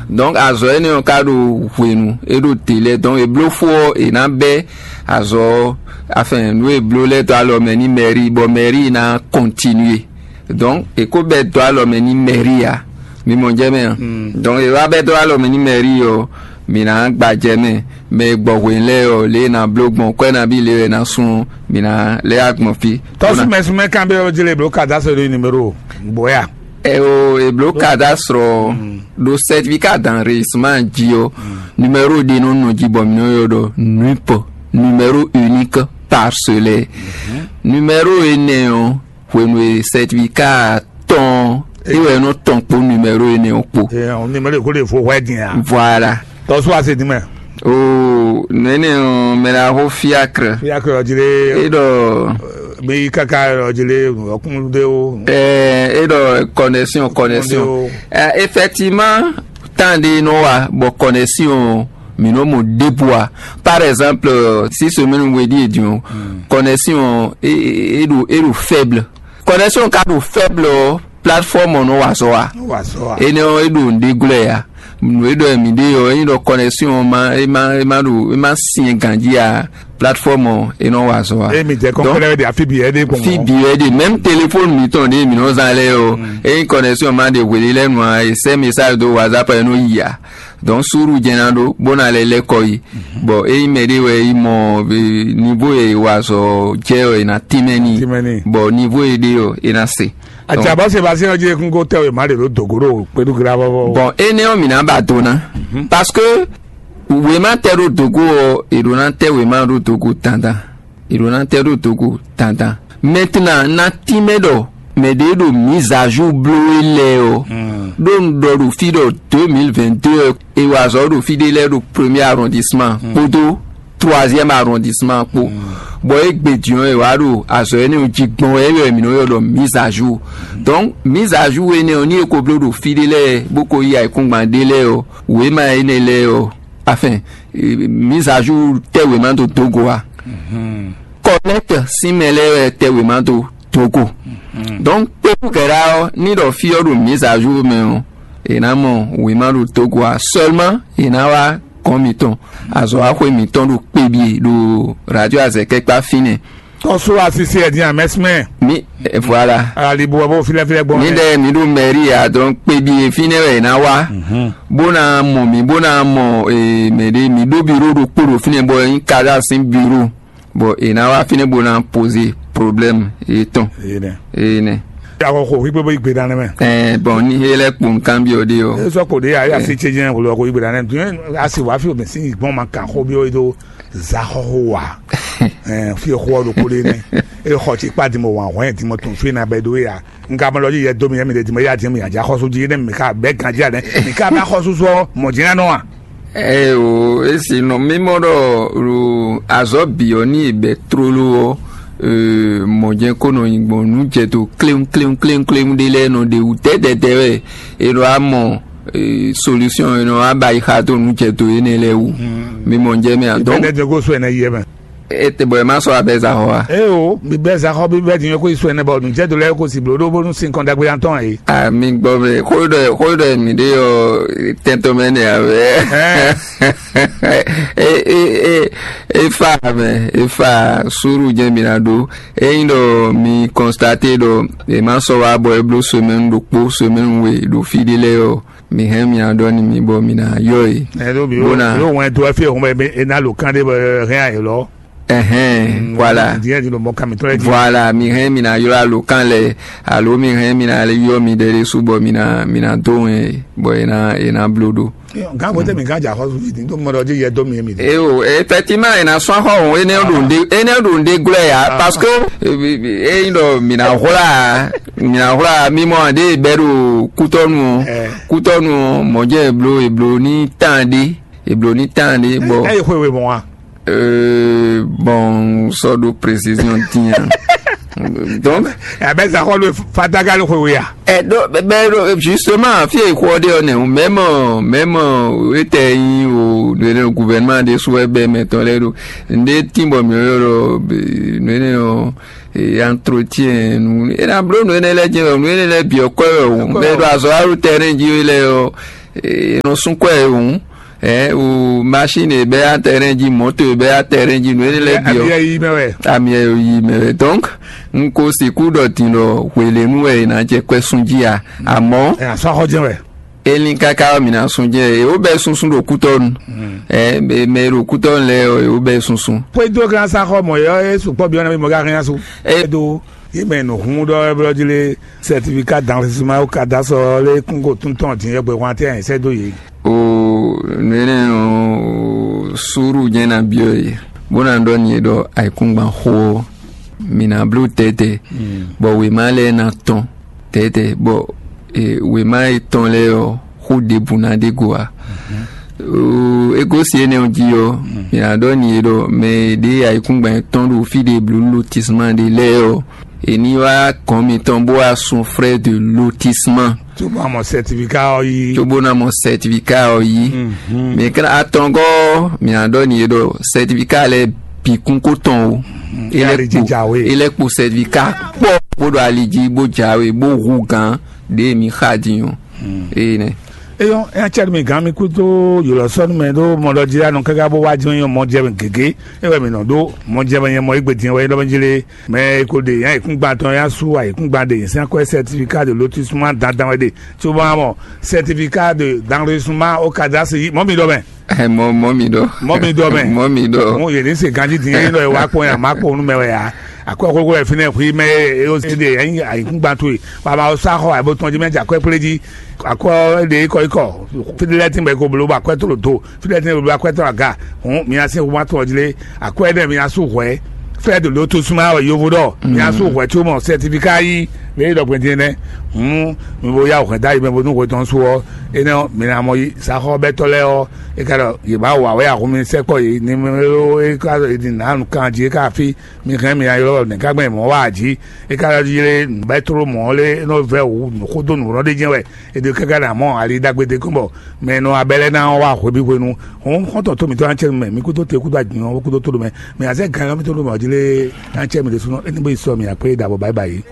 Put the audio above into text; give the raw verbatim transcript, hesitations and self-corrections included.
Donc azɔ̌ énɛ́ ɔ́ ka ɖo hwenu, é ɖo te lɛ́ɛ, donc è bló fó ɔ́, è nǎ bɛ́ azɔ̌ ɔ́, afin nǔ e bló lɛ́ɛ dó alɔ mɛ n'i mɛri, bɔ mɛri ná kɔntinué. Donc è ko bɛ́ dó alɔ mɛ n'i mɛri ǎ. Mi mɔ jɛ mɛ a? Donc è wá bɛ́ dó alɔ mɛ n'i mɛri ɔ́, mǐ ná gbajɛ mɛ. Mɛ e gbɔ hwenu lɛ́ɛ ɔ́, lě e è nǎ bló gbɔn kwɛ́ nabí lě e è nǎ sun ɔ́, mǐ ná lɛ́ wá gbɔn fí. Tɔ́súmɛsúmɛ kan bɛ ɔ́ jlé bló cadastre ɖo numéro bɔ́ ya. Ɛ o, è bló cadastre ɔ́ ɖo certificat d'enregistrement jí ɔ́, numéro ɖé nɔ nɔ jí bɔ mǐ nɔ ylɔ́ ɖɔ nup, numéro unique parcellaire. Numéro énɛ́ ɔ́, hwenu e certificat tɔn é wɛ nɔ tɔn kpó numéro énɛ́ ɔ́ kpó. Numéro ko lè fo hwɛ din a? Voilà. Tɔsú ase din mɛ. O nɛnɛ ɔ́, mɛ la xo fiacre. Fiacre ɔjlé. E ɖɔ mi kaka ɔjlé ɔkún de o. Ɛ e ɖɔ connexion, connexion. Ɛ effectivement, tan de nɔ wa bɔ connexion mi nɔ mo débua. Par exemple, si semaine wedi edion, connexion e e ɖo e ɖo faible. Connexion ka ɖo faible ɔ́, plateforme ɔ́ nɔ wa azɔ̌ wa. Wa sɔ wa. Énɛ́ ɔ́, é ɖo nǔɖé glɔ́ ya. Nǔ e ɖɔ mǐ ɖe ɔ́, é nyí ɖɔ connexion ɔ́ ma é ma é ma ɖo é ma syɛn ganjí a, plateforme ɔ́ é nɔ wa azɔ̌ wa. Eye mi jɛ Donc, kɔnkɔlɛ wɛ de afi bi ɛ de gbɔn. Fi bi wɛ de, même téléphone mitɔn ɖe mǐ nɔ zán lɛ́ɛ ɔ́, ényí connexion ma ɖe hwelé lɛ́ɛ nu a, è sɛ́ message dó WhatsApp ɛ nɔ yi a. Donc suru jɛ́n ná ɖó bó ná lɛ lɛ́ kɔ yi. Bɔ ényí mɛ ɖé wɛ yi mɔ niveau e wa azɔ̌ jɛ ɔ́, è nǎ tínmɛ n'i. Tínmɛ n'i. Bɔ niveau e ɖe ɔ́, è nǎ se. Atsabɔ Sébastien ɔ́ jí ekún kó tɛ wěma ɖě ɖó dǒgó ɖo kpéɖúgblá vɔvɔ. Bon, énɛ́ ɔ́, mǐ ná ba do ná. Parce que wěma tɛ ɖó dǒgó ɔ́, è ɖǒ ná tɛ wěma ɖó dǒgó dandan. È ɖǒ ná tɛ ɖó dǒgó dandan. Maintenant, ná tínmɛ ɖɔ mɛ ɖě ɖo mise à jour bló we lɛ́ɛ ɔ́, ɖó un ɖɔ ɖo fí ɖɔ deux mille vingt-deux ɔ́, è wa azɔ̌ ɖo fí ɖé lɛ́ɛ ɖo premier arrondissement kpódó troisième arrondissement kpó. Bɔ égbé din ɔ́, è wá ɖo azɔ̌ énɛ́ ɔ́ jí gbɔn wɛ, é wɛ mǐ nɔ ylɔ́ ɖɔ mise à jour. Donc mise à jour énɛ́ ɔ́, ní è ko bló ɖo fí ɖé lɛ́ɛ bó ko yí ayǐkúngban ɖé lɛ́ɛ ɔ́, wěma énɛ́ lɛ́ɛ ɔ́, afin mise à jour tɛ́ wěma dó dó go a? Kɔnɛt sín mɛ lɛ́ɛ wɛ tɛ́ wěma dó dó go. Donc kpékúgɛ̌ ɖá ɔ́, ní ɖɔ fí ɔ́ ɖo mise à jour mɛ ɔ́, è nǎ mɔ wěma ɖo dó go a? Seulement è nǎ wá gɔ̌n mǐtɔn, azɔ̌ wá xwé mǐtɔn ɖo kpébyé ɖo radio azɛkɛ́kpá fínɛ́. Tɔ́sú asisi ɛ dín amɛsímɛ. Mi voilà. Alibu ɔ́ bó fílɛ́fílɛ́ gbɔn. Mi ɖɛ mi ɖo mɛri a, donc kpébyé fínɛ́ wɛ è nǎ wá. Bó ná mɔ mǐ, bó ná mɔ mɛ ɖé, mǐ ɖó biro ɖokpó ɖo fínɛ́ bɔ é nyí Kaza sín biro. Bɔ è nǎ wá fínɛ́ bó ná poze problème yětɔn. Énɛ́. Énɛ́. Akɔ xo xwígbe bó yi gbe ɖa nɛmɛ. Ɛɛ bɔn ní é lɛ́ kpo nǔkanbyɔ́ ɖé ɔ́. É sɔ́ kpo ɖé ayé asi tse jẹ́ wòlò ɔkọ̀ yi gbe ɖa nɛmɛ. Asi wàá fi omi sí ìgbọ́n ma kàn xó bí ó do zahɔxo wa. Ɛɛ fi xó ɔ́ ɖokpó ɖé nɛ. É xɔ tsi kpá dimɔ wǎn hwɛ́n dimɔ tún fi na bɛ dó ya. Nka mɔ lɔ yi yɛ dó mi yɛ mi ɖe dimɔ ya dimɔ ya dza xɔsú jí nɛ mi ka bɛ ganjí anɛ mi ka bɛ xɔsú sɔ mɔ jɛnɛ nɔ wa. Ɛ o, esi nɔ mímɔ ɖɔ ɖo azɔ̌ bǐ ɔ́ ní è bɛ̌ tlóló ɔ́, mɔ̌ jɛ́n kó nɔ nyi gbɔn nǔ jɛ dó kléwún kléwún kléwún kléwún ɖé lɛ́ɛ nɔ ɖe wú dɛ̌dɛ̌dɛ̌ wɛ è ɖo amɔ solution è nɔ wá ba yi xa dó nǔ jɛ dó énɛ́ lɛ́ɛ wú. Mímɔ jɛ mɛ a dɔn. Bɛ́ dɛ́ dó gosú ɛnɛ yi ɛ mɛ. Ete bɔ ɛ ma sɔ abɛ za xɔ wa. Ee o, mi bɛ za xɔ bi bɛ diɲɛ ko isu ɛnɛ bɔ nu jɛ do lɛ ko si blo ɖo bonu sin kɔn dagbe yan tɔn ye. A mi gbɔ mɛ xo ɖɔ xo ɖɔ mi ɖe yɔ tɛntɔn mɛ ne a bɛ. E e e e fa mɛ e fa suru jɛ mi na ɖo. Eyin ɖɔ mi kɔnstate ɖɔ e ma sɔ wa bɔ e blo semaine ɖokpo semaine we ɖo fi ɖe lɛ yɔ. Mi hɛn mi aɖɔ ni mi bɔ mi na yɔ ye. Ɛ ɖo mi ɖo wɛn do ɛfɛ hun bɛ e na lo kan de bɔ hɛn ayi lɔ. Ɛhɛn, voilà. Diɲɛ di lo mɔ kan mi tɔn lɛ di. Voilà, mi hɛn mi na yɔ alo kan lɛ, alo mi hɛn mi na yɔ mi ɖe ɖe su bɔ mi na mi na do wɛn ye bɔ e na e na blo ɖo. Gan ko tɛ mi gan ja xɔ su fi din to mɔ dɔ di yɛ do mi mi. E o, effectivement e na sɔn xɔ o, e ne ɖo nde e ne ɖo nde glɛ ya parce que e yi ɖɔ mi na hwla mi na hwla mi mɔ de bɛ ɖo kutɔnu o. Kutɔnu o, mɔjɛ eblo eblo ni tan de eblo ni tan de bɔ. Ɛ ye xwe we mɔ wa. Euh, bon, sɔ ɖo précision tiɲɛ. Donc, abɛ sa xɔ lo fataga lo xwe ya. Ɛ ɖo bɛ ɖo justement fi e xɔ de ɔnɛ o même même etɛ yin o le gouvernement de sue bɛ mɛ tɔn lɛ ɖo nde tin bɔ mi yɔ ɖo ne ne o entretien nu e na blo nu ne lɛ jɛ nu ne lɛ biɔ kɔ o mɛ ɖo azɔ alu terrain ji lɛ o. E nɔ sún kwɛ e hǔn, ɛ o machine e bɛ atɛrɛn jí, moto e bɛ atɛrɛn jí, nǔ énɛ́ lɛ́ɛ bǐ ɔ́, ami ɛ yi mɛ wɛ. Ami ɛ yi mɛ wɛ. Donc n ko sixú ɖɔ din ɖɔ hwelenu wɛ è nǎ jɛ kwɛ sún jí a, àmọ́ ɛ asɔ axɔ jɛn wɛ. Elin káká ɔ́, mǐ ná sún jɛ è wó bɛ́ súnsún ɖo kútɔ́nu. Ɛ mɛ e ɖo kútɔ́nu lɛ́ɛ ɔ́, è wó bɛ́ súnsún. Xwédó glán sá xɔ mɔ̌ é sukpɔ́ byɔ́ ná mɔ gá hɛn asu. Ɛ do yé mɛ nǔ hún ɖɔ é blɔ́ jí lé, certificat d'enregistrement au cadastre lé kún ko tún tɔn dín yɛgbɛ hwan tɛ́ ɛ sɛ́ dó yě. O nǔ énɛ́ ɔ́, súrú jɛ́n ná byɔ́ yě, bó ná ɖɔ n'i ɖɔ ayǐkúngban xó ɔ́, mǐ ná bló tɛ́tɛ́, bɔ wěma lɛ́ɛ ná tɔn tɛ́tɛ́, bɔ wěma e tɔn lɛ́ɛ ɔ́, xó ɖěbǔ ná ɖe go ǎ. É gosín énɛ́ ɔ́ jí ɔ́, mǐ ná ɖɔ n'i ɖɔ mɛ e ɖe ayǐkúngban yětɔn ɖo fí ɖé bló lotisma ɖé lɛ́ɛ ɔ́, è ní wá gɔ̌n mitɔn bó wá sun frais de lotissement. Cóbó ná mɔ certificat ɔ́ yí. Cóbó ná mɔ certificat ɔ́ yí. Mɛ kɛ́ɖɛ́ atɔngɔ́ ɔ́, mǐ ná ɖɔ n'i ɖɔ certificat lɛ́ɛ bǐ kún kó tɔn o. É lɛ́ kpo certificat kpɔ́ bó ɖo ali jí bó jǎwe bó hu gǎn ɖě mǐ xa din ɔ́. Ée nɛ́. Eyɔ́, é ná cɛ́ nú mi gǎn mi kú dó yǒlɔ sɔ́ nú mɛ ɖó mɔ ɖɔ jí anɔ káká bó wá jɛ́n nyɔ́ mɔ jɛ mɛ gěgé. É wɛ mǐ nɔ ɖó mɔ jɛ mɛ nyɛ mɔ égbé din wɛ é ɖɔ mɛ jí lé. Mɛ e ko ɖe yǎ yěkúngban tɔn yá sú ayǐkúngban ɖe nyǐsɛ́n akwɛ́ certificat de lotissement dandan wɛ ɖe. Cóbɔ ná mɔ certificat de d'enregistrement au cadastre yí mɔ̌ mi ɖɔ mɛ. Ɛ mɔ mɔ mi ɖɔ. Mɔ mi ɖɔ mɛ. Mɔ mi ɖɔ. Mo yě ní se ganjí dín é nɔ wá kpɔn yà má kpɔn nú mɛ wɛ yá. Akwɛ́ xóxó wɛ fínɛ́ xwí mɛ é ó sí ɖe yɛ nyí ayǐkúngban towe. Baba ó sá xɔ àbó tɔn jí mɛ jɛ akwɛ́ kplé jí. Akwɛ́ ɔ́ ɖe ikɔ ikɔ. Fídílɛ́tín bɔ é ko bló bɔ akwɛ́ tó lǒ do. Fídílɛ́tín bɔ é bló akwɛ́ tó aga. Hǔn mi ná sín hu má tɔn jí lé. Akwɛ́ énɛ́ mi ná sú hwɛ̌. Fɛ́ ɖo lǒ tosúnmá wɛ yovo ɖɔ mi ná sú hwɛ̌ có mɔ sɛtifíká yí. Lě e ɖɔ gbɛn din nɛ́. Hǔn mi bo yá hwɛ̌ dó ayi mɛ bónú hwetɔn sú ɔ́, énɛ́ ɔ́, mi ná mɔ yí. Saxɔ́bɛ́tɔ́ lɛ́ɛ ɔ́, é ka ɖɔ yě má wa wɛ ahun mi sɛkpɔ́ yě ní mɛ é ká ɖɔ yě ní ná nǔ kan jí é ká fí. Mi hɛn mi ná ylɔ́ nɛ̌ ká gbɛn mɔ̌ wa jí? É ka ɖɔ jí lé nǔbɛ́tló mɔ̌ lé é nɔ vɛ́ wǔ xó dó nǔ ɖɔ ɖé jɛ́n wɛ. È ɖo káká ná mɔ ali ɖagbe ɖé kɔn bɔ mɛ e nɔ abɛ lɛ́ɛ ná wá hweví hwenu. Hɔn xɔ́ntɔn tó mǐtɔn ná cɛ mɛ, mi kúdó te kúdó agbǐn ɔ́ kúdó tó ɖo mɛ. Mɛ azɛ gan ɔ́ mítɔn ɖo mɛ ɔ́ jí lé ná cɛ mì ɖésúnɔ é ní bó yi sɔ mì akpé ɖabɔ báyìí báyìí.